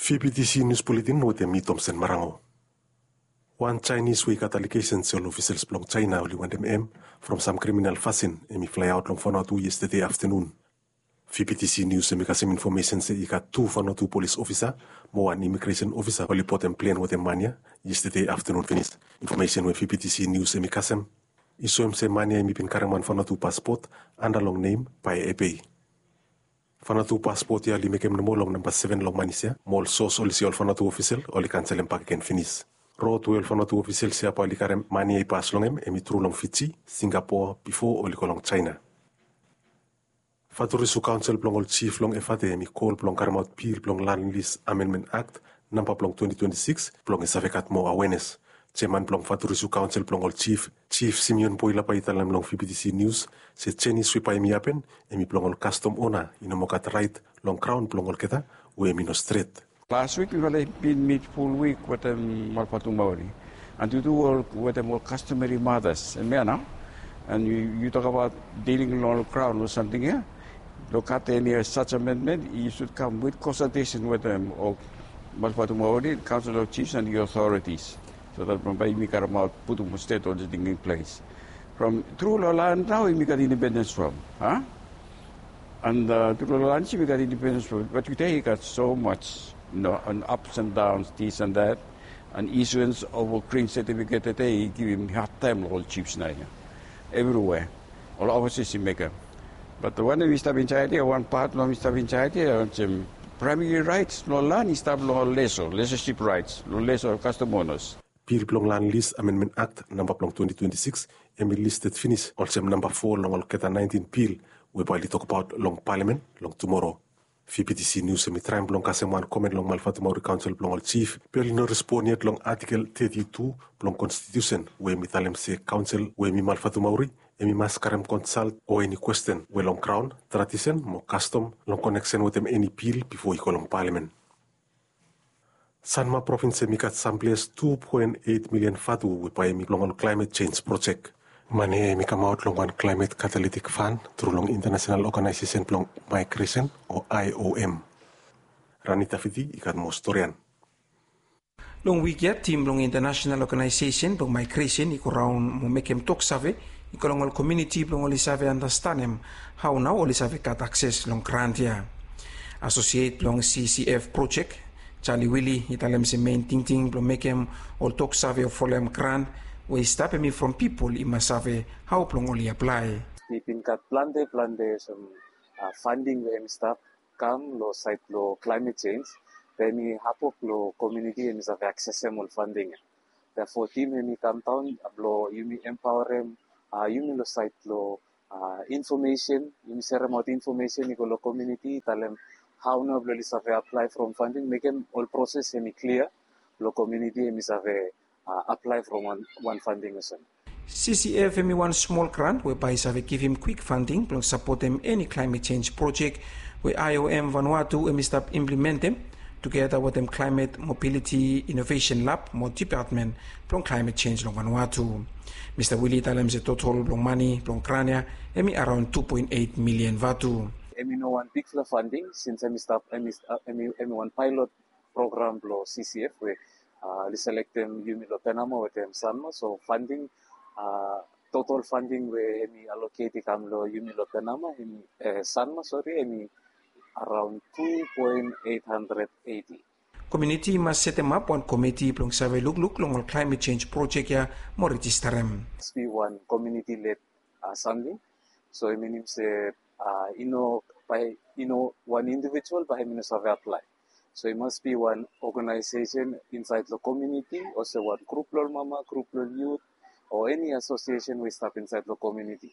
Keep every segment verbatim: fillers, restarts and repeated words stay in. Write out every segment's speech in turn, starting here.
V B T C News Bulletin wetem mi, Tomsen Marango. Wan Chinese we i gat alegesen se ol ofisels blong China oli wantem hem from sam kriminal fasin, hem i flaeaot long Vanuatu yestede aftenun. V B T C News hem i kasem infomesen se i gat tu Vanuatu polis ofisa mo wan imigresen ofisa oli botem plen wetem man ya yestede aftenun finis. Infomesen we V B T C News hem i kasem i soem se man ya hem i bin karem wan Vanuatu paspot anda long nem Pae Ebei. Vanuatu paspot ya oli mekem nomo long namba seven long manis ya mo ol sos oli se ol Vanuatu ofisel oli kanselem bakegen finis. Rod we ol Vanuatu ofisels ya bae oli karem man ya i pas long hem hem i tru long Fiji, Singapoa bifo oli go long China. Faturisu Kaonsel blong ol Jif long Efate hem i kol blong karemaot bil blong Land Lease Amendment Act namba blong twenty twenty-six blong i save gat moa awenes. Jeaman blong Faturisu Kaonsel blong ol Jif, Jif Simeon Boilapa i talem long V B T C News se jenis we bae hem i hapen hem i blong ol kastom ona i no moa gat raet long graon blong olgeta we hem i no stret. Last week mifala i bin mit ful wik wetem Malvatumauri and yu tu ol wetem ol customary matas, hemia nao. And yu, yu tokbaot diling long ol graon o samting ya. Long gat eni such amendment, yu sud kam wit konsaltesen wetem ol Malvatumauri Council of Chiefs and the authorities, so that bambae yumi karemaot putum stret ol diling in ples. From tru long lan nao yumi gat independens from, a? And tru long lan yumi gat independens from, bat tude i gat so much, you know, an ups and downs, this and that. An issuance of a green certificate tude i givim hadtaem long ol jifs naoia. Evriwea ol ofisas i mekem. Bat wanem i stap insaed ya, wan pat blong hem i stap insaed ya olsem, praemari raets blong lan i stap long ol leso, lesoship raets long leso kastom onas. Bil blong Land Lease Amendment Act namba blong twenty twenty-six hem i listed finis olsem namba fo long olgeta naentin bil we bae oli tokbaot long palamen long tumora. V B T C News hem i traem blong kasem wan komen long Malvatumauri Kaonsel blong ol Jif, be oli no respon yet long Atikel thirty-two blong Konstitusen we hem i talem se kaonsel we hem i Malvatumauri hem i mas karem konsalt o eni kwesten we long graon, tradisen mo kastom long koneksen wetem eni bil bifo i go long palamen. Sanma provins hem i gat samples tu poen eit milian vatu we bae hem i blong ol klaemet jenj projek. Mane ya hem i kamaot long wan klaemet katalitik fan tru long Intanasenal Oganaesesen blong Maegresen o I O M. Ranita Fiti i gat moa storian. Long wik ya tim blong Intanasenal Oganaesesen blong Maegresen i go raon mo mekem toksave i go long ol komuniti blong oli save andastanem hao nao oli save gat akses long grant ya. Asosiet blong C C F projek, Charlie Willie, i talem se mein tingting blong mekem ol toksave o folem grant we i stap hem i from pipol i mas save hao blong oli aplae. I bin gat plante plante sam fanding we hem i stap kam long saed blong klaemet jenj, be hem i hapwok long komuniti hem i save aksesem ol fanding ya. Therefore tim hem i kamdaon blong yumi empaorem yumi long saed blong infomesen, yumi seremaot infomesen i go long komuniti, talem hao nao blong oli save aplae from fanding, mekem ol proses hem i klia blong komuniti hem i save aplae from wan fanding olsem. C C F hem i wan smol grant we bae i save givim kwik fanding blong sapotem eni klaemet jenj projek we I O M Vanuatu hem i stap implementem tugeta wetem Klaemet Mobiliti Inovesen Lab mo Dipatmen blong Klaemet Jenj long Vanuatu. Mista Willie i talem se totol blong mane blong grant ya hem i araon tu poen eit milian vatu. Hem i no wan bigfala fanding sins hem i stap, hem i wan paelot program blong C C F we oli selektem yumi long Penama wetem Sanma, so fanding, totol fanding we hem i aloket i kam long yumi long Penama, hem i, Sanma, sori, hem i araon tu poen eit handred eiti. Komuniti i mas setemap wan komiti blong save lukluk long ol klaemet jenj projek ya mo rejistarem. Mas bi wan komuniti led samting. So i minim se i no, bae i no wan indivijual bae hem i no save aplae. So i mas bi wan oganaesesen insaed long komuniti olsem wan grup blong ol mama, grup blong ol yut o eni asosiesen we i stap insaed long komuniti.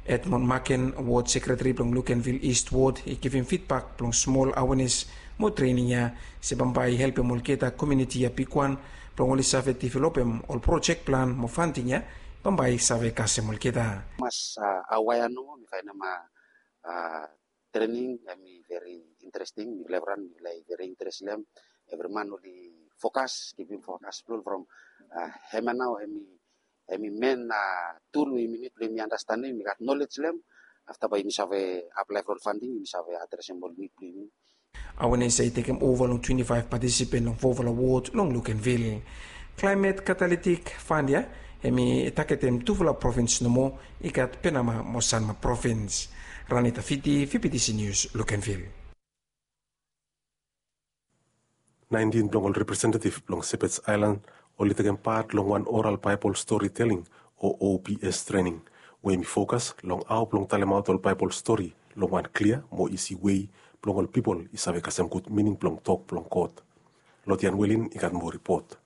Edmond Maken, wod sekretari blong Lukenvil Ist Wod, i givim fidbak blong smol awenes mo trening ya se bambae i helpem olgeta komuniti ya bigwan blong oli save developem ol projek plan mo fanding ya bambae i save kasem olgeta. Mas awaea nomo, mi faenem trening hem i veri interesting, mi lev ran mi lae veri interes long hem. Evri man oli fokas, givim fokas blong ol from hemia nao hem i hem i men tul we yumi nid blong yumi andastanem, yumi gat nolej long hem. Afta bae yumi save aplae for ol fanding, yumi save adresem ol nid blong yumi Awenes ya i tekem ova long twenti faef patisipen long fofala wod long Lukenvil. Klaemet katalitik fand ya hem i taketem tufala provins nomo i gat Penama mo Sanma provins. Ranita Fiti, V P T C News, Lukenvil. Naentin blong ol representetiv blong Sepets Aelan oli tekem pat long wan oral Baebol stori teling o O B S trening we hem i fokas long hao blong talemaot ol Baebol stori long wan klia mo isi wei blong ol pipol i save kasem gud mining blong tok blong God. Lodian Welin i gat moa ripot.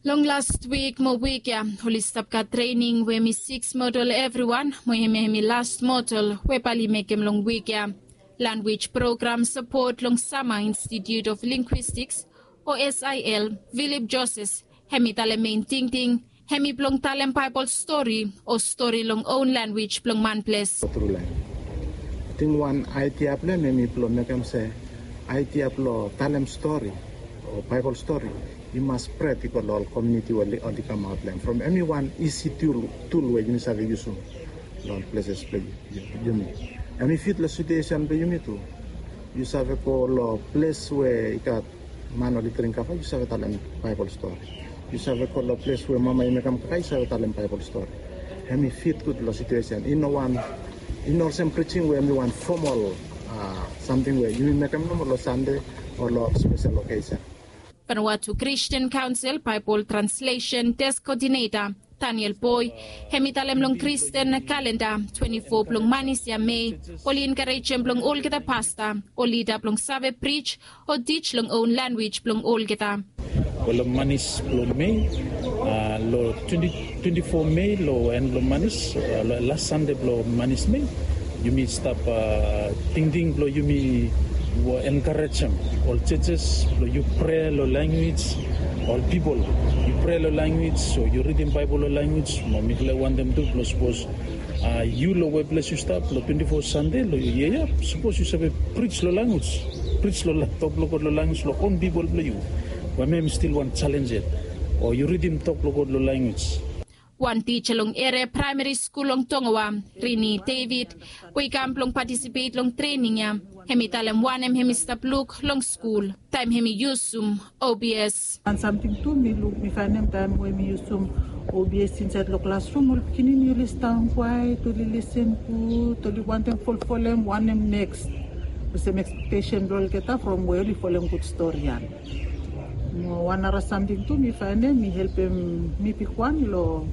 Long las wik mo wik ya oli stap gat trening we hem i siks modul evriwan mo hem hem i las modul we bae oli mekem long wik ya. Lanwis program sapot long Sama Institute of Linguistics o S I L, Philip Joses, hem i talem mein tingting hem i blong talem Baebol stori o stori long own lanwis blong manples. Tru laen. Ating wan aedia blong hem hem i blong mekem se aedia blong talem stori o Baebol stori i mas spred i go long ol komuniti we oli kamaot long hem from hem i wan isi tul we yumi save yusum long ol pleses blong yumi. Hem i fit long situesen blong yumi tu. Yu save go long ples we i gat man oli dring kava, yu save talem Baebol stori. Yu save go long ples we mama i mekem kaka, yu save talem Baebol stori. Hem i fit gud long situesen. I no wan, i no olsem prijing we hem i wan fomol samting we yumi mekem nomo long Sande o long spesel okesen. Vanuatu Christian Council Baebol Translation Desk Coordinator Daniel Boy hem i talem long Kristen kalenda twenti fo blong manis ya Mei oli enkarejem blong olgeta pasta o lida blong save prij o tij long own lanwis blong olgeta. Wel, long manis blong Mei, long twenti twenti fo Mei, long en blong manis, las Sande blong manis Mei, yumi stap tingting blong yumi enkarejem ol jejes blong yu prea long lanwis, ol pipol yu prea long lanwis o yu ridim Baebol long lanwis. Mo mifala i wantem tu blong sapos yu long weples yu stap long twenti fo Sande long yia ya, sapos yu save prij long lanwis, prij long tok blong God long lanwis long own pipol blong yu. Wamem stil wan jalenj yet o yu ridim tok blong God long lanwis. Wan tija long eria praemari skul long Tongawa, Rini David, we i kam blong patisipet long trening ya, hem i talem wanem hem i stap luk long skul taem hem i yusum O B S. Wan samting tu mi luk, mi faenem taem we mi yusum O B S insaed long klasrum, ol pikinini oli stap kwaet, oli lisen gud, oli wantem folfolem wanem neks, olsem ekspektesen blong olgeta from we oli folem gud stori ya. Mo wan nara samting tu mi faenem i helpem mi bigwan long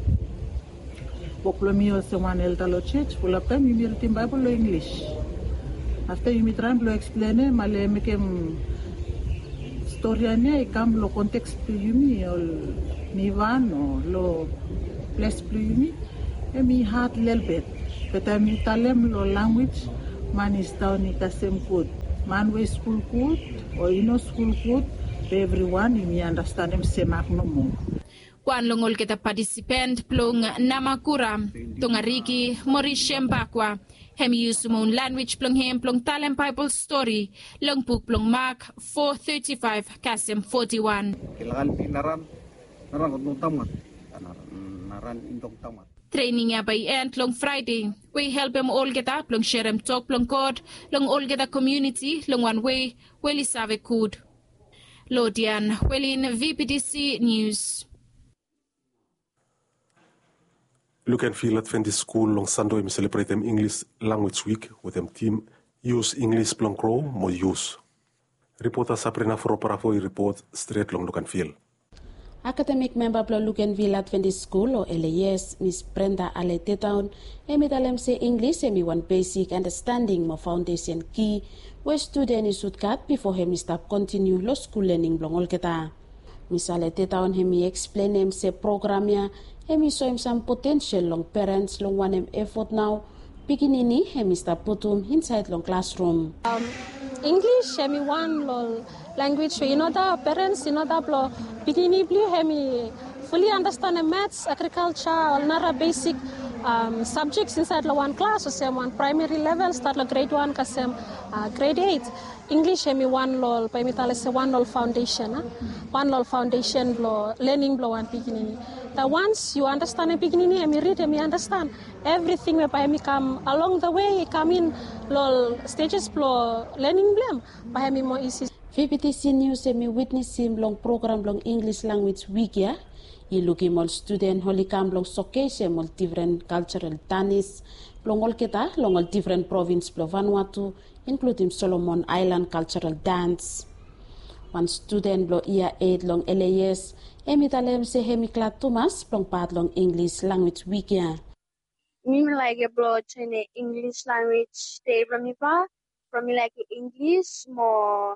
wok blong mi olsem wan elda long jos, fulap taem yumi ridim Baebol long Inglis. Afta yumi traem blong eksplenem ale mekem stori ya i kam long konteks blong yumi ol Nivan o long ples blong yumi, hem i had lelebet. Be taem yu talem long lanwis man i stap i kasem gud, man we i skul gud o i no skul gud, be evriwan yumi andastanem semak nomo. Wan long olgeta patisipen blong Namakura, Tongariki, Morisem Bakwa, hem i yusum own lanwis blong hem blong talem Baebol stori long buk blong Mak fo teti faef kasem foti wan. Trening ya bae i en long Fraede we i helpem olgeta blong serem tok blong God long olgeta komuniti long wan wei we oli save gud. Lodian Welin, V P T C News. Lukenvil Adventist Skul long Sande hem i selebretem Inglis Lanwis Wik wetem tim Yus Inglis blong Gro mo Yus. Ripota Sabrina Foroparafo i ripot stret long Lukenvil. Akademik memba blong Lukenvil Adventist Skul o L A S, Mis Brenda Ale Tetaon, hem i talem se Inglis hem i wan besik andastanding mo faondesen ki we studen i sud gat bifo hem i stap kontiniu long skul lening blong olgeta. Mis Ale Tetaon hem i eksplenem se program ya hem i soem sam potensel long perens long wanem efot nao pikinini hem i stap putum insaed long klasrum. Inglis hem i wan long lanwis we i no dau perens i no dau blong pikinini blong yu hem i fuli andastanem mats, agrikalja, ol nara besik sabjek insaed long wan klas olsem wan praemari level stat long gred wan kasem gred et. Inglis hem i wan long ol bae mi talem se wan long ol faondesen a wan long ol faondesen blong lening blong wan pikinini. Once yu understand, em pikinini em i rid, em i understand everything we bae em i kam along the way, i kam in long stages blong learning blong em, bae em i more easy. VBTC News em i witnesim long program blong English Language Week ya. I lukim ol studen oli kam blong showcase em ol different cultural dance blong olgeta long ol different province blong Vanuatu, including Solomon Island cultural dance. Wan studen blong yia eight long LAS, em i talem se em i glad tumas blong pat long English Language Week ya. Mi mi laik blong join English Language Day blong mi ba, from mi laik English mo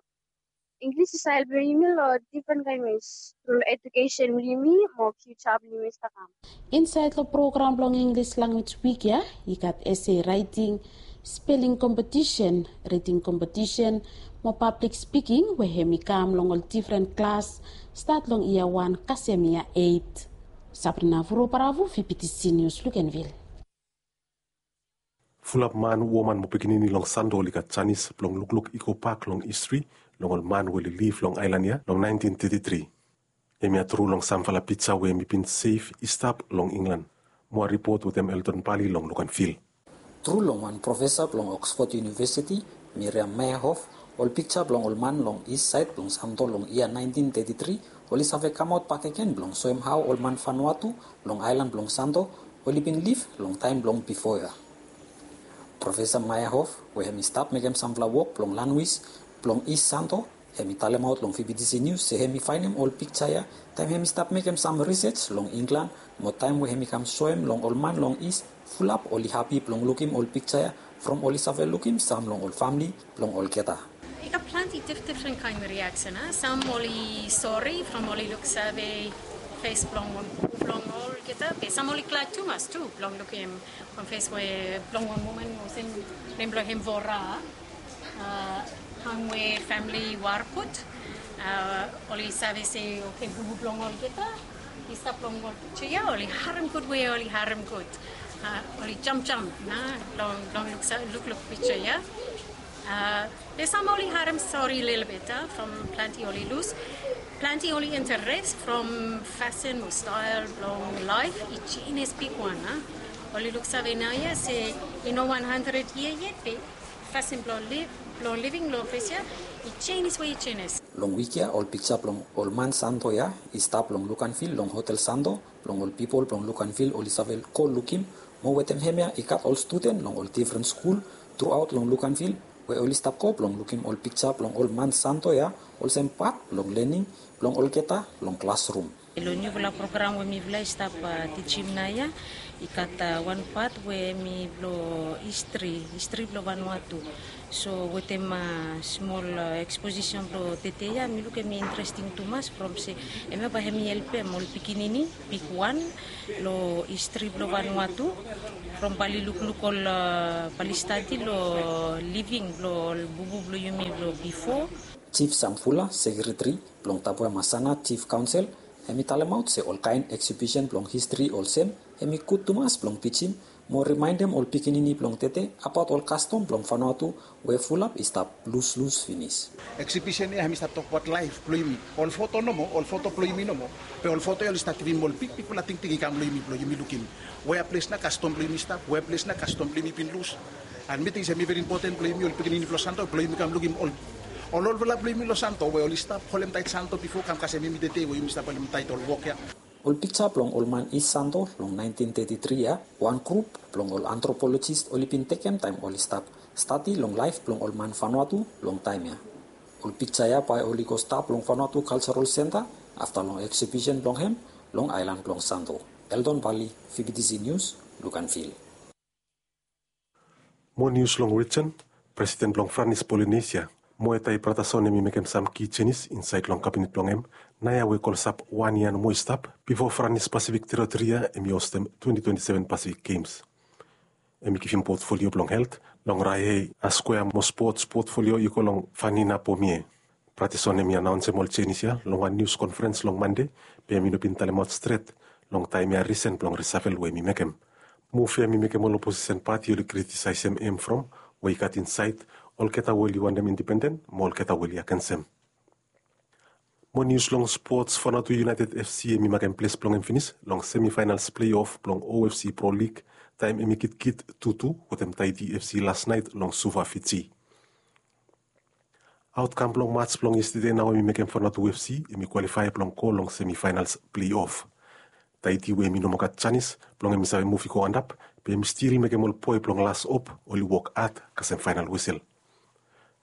English i sael blong yumi long different kain ways, through education blong yumi mo future blong yumi stap kam. Insaed long program blong English Language Week ya, i gat essay writing, spelling competition, reading competition mo public speaking we em i kam long ol different klas, stat long yia wan kasem yia eight. Sabrina Vurobaravu, VBTC News, Luganville. Fulap man, woman mo pikinini long Santo oli gat janis blong lukluk i go bak long histri long ol man we oli liv long aelan ya long naentin teti tri. Hemia tru long samfala pija we mi bin sev i stap long Inglan. Moa ripot wetem Elton Pali long Luganville. Tru long wan profesa blong Oxford University, Miriam Meyerhoff, ol pija blong ol man long is saed blong Santo long yia naentin teti tri oli save kamaot bakegen blong soem hao ol man Vanuatu long aelan blong Santo oli bin liv long taem blong bifo ya. Profesa Meyerhoff, we em i stap mekem samfala wok blong lanwis blong is Santo, em i talemaot long VBTC News se em i faenem ol pija ya taem em i stap mekem sam risej long Inglan, mo taem we em i kam soem long ol man long is, fulap oli hapi blong lukim ol pija ya from oli save lukim sam long ol famle blong olgeta. I gat plante dif-, difren kaen reaksen, a? Sam oli sori from oli luksave fes blong wan bubu blong olgeta, be sam oli glad tumas tu blong lukim wan fes we blong wan woman olsem nem blong hem Vora, a, hangwe famle Warkut, a, oli save se, oke, bubu blong olgeta i stap long ol pija ya, oli harem gud we oli harem gud. A, oli jamjam, a, long, long luksa-, lukluk pija ya. A, be sam oli harem sori lelebet, a, from plante oli lus. Plante oli interes from fasin o stael blong laef i jenis bigwan, a. Oli luksave naoia se i no wan handred yia yet, be fasin blong liv, blong living long ples ya i jenis we i jenis. Long wik ya ol pija blong ol man Santo ya i stap long Luganville long Hotel Santo blong ol pipol blong Luganville oli save go lukim, mo wetem hemia i gat ol studen long ol difren skul truaot long Luganville we oli stap go blong lukim ol pija blong ol man Santo ya olsem pat blong lening blong olgeta long klasrum. Long niufala program we mifala i stap, a, tijim naoia, i gat, a, wan pat we hemi blong histri, histri blong Vanuatu. So wetem, a, smol, a, eksposisen blong tede ya, mi luk hemi interesting tumas from se hemia bae hemi helpem ol pikinini bigwan long histri blong Vanuatu, from bae oli lukluk ol, a, bae oli stadi long living blong ol bubu blong yumi blong bifo. Jif Samfula, sekreteri blong Tapuaemasana Jif Kaonsel, hemi talemaot se ol kaen eksibisen blong histri olsem hemi gud tumas blong tijim mo rimaendem ol pikinini blong tede abaot ol kastom blong Vanuatu we fulap i stap luslus finis. Eksibisen ya hemi stap tokbaot laef blong yumi, ol foto nomo, ol foto blong yumi nomo. Be ol foto ya oli stap givim ol bigbigfala tingting i kam long yumi blong yumi lukim wea ples nao kastom blong yumi stap, wea ples nao kastom blong yumi bin lus. An mi ting se hemi veri impoten blong yumi ol pikinini blong Santo blong yumi kam lukim ol, ol olfala blong yumi long Santo we oli stap holem taet Santo bifo kam kasem hemi tede we yumi stap holem taet ol wok ya. Ol pija blong ol man Is Santo long naentin teti tri ya, wan grup blong ol antropolojis oli bin tekem taem oli stap stadi long laef blong ol man Vanuatu long taem ya. Ol pija ya bae oli go stap long Vanuatu Cultural Centre afta long eksibisen blong hem long aelan blong Santo. Eldon Bali, VBTC News, Luganville. Moa nius long rijen. Presiden blong Franis Polinesia, Moetai Bratason, hemi mekem sam ki jenis insaed long kabinet blong hem naoia we klosap wan yia nomo i stap bifo Franis Pasifik Teritori ya hemi hostem twenti twenti seven Pasifik Gems. Hemi givim potfolio blong helt long Raihei Askuea mo spots potfolio i go long Vanina Pomie. Bratason hemi anaonsem ol jenis ya long wan nius konferens long Mande, be hemi no bin talemaot stret long taem ya risen blong risafel we hemi mekem. Muv ya hemi mekem ol oposisen pati oli kritisaesem hem from, we i gat insaed olgeta we oli wantem indipenden mo olgeta we oli agensem. Mo nius long spots, Vanuatu United F C hemi makem ples blong hem finis long semifinals pleiof blong O F C Pro League taem hemi kitkit tutu wetem Tahiti F C las naet long Suva, Fiji. Aotkam blong mats blong yestede nao hemi mekem Vanuatu F C hemi kwalifae blong go long semifinals pleiof. Tahiti we hemi no moa gat janis blong hemi save muv i go antap, be hemi stil mekem ol boe blong las hop oli wok had kasem faenal wesel.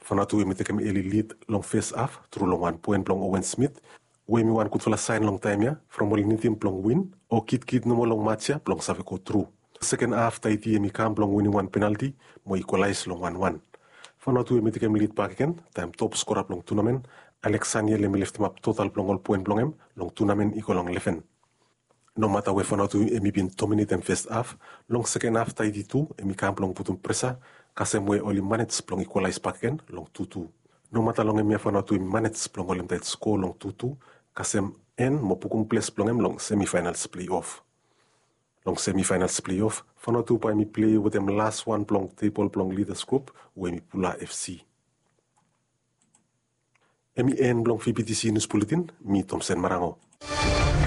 Vanuatu hemi tekem eli lid long fes haf tru long wan poen blong Owen Smith, we hemi wan gudfala saen long taem ya from oli nidim blong win o kitkit nomo long mats ya blong save go tru. Seken haf Tahiti hemi kam blong winim wan penalti mo ikwalaes long wan wan. Vanuatu hemi tekem lid bakegen taem top skora blong tunamen, Alex Saniel, hemi leftemap total blong ol poen blong hem long tunamen i go long leven. Nomata we Vanuatu hemi bin dominetem fes haf, long seken haf Tahiti tu hemi kam blong putum presa kasem we oli manej blong ikwalaes bakegen long tutu. Nomata long hemia Vanuatu hemi manej blong holem taet sko long tutu kasem en mo pukum ples blong hem long semifinals pleiof. Long semifinals pleiof Vanuatu bae hemi plei wetem las wan blong tebol blong lidas grup we hemi Pula F C. Hemi en blong V B T C Nius Buletin. Mi Tomsen Marango.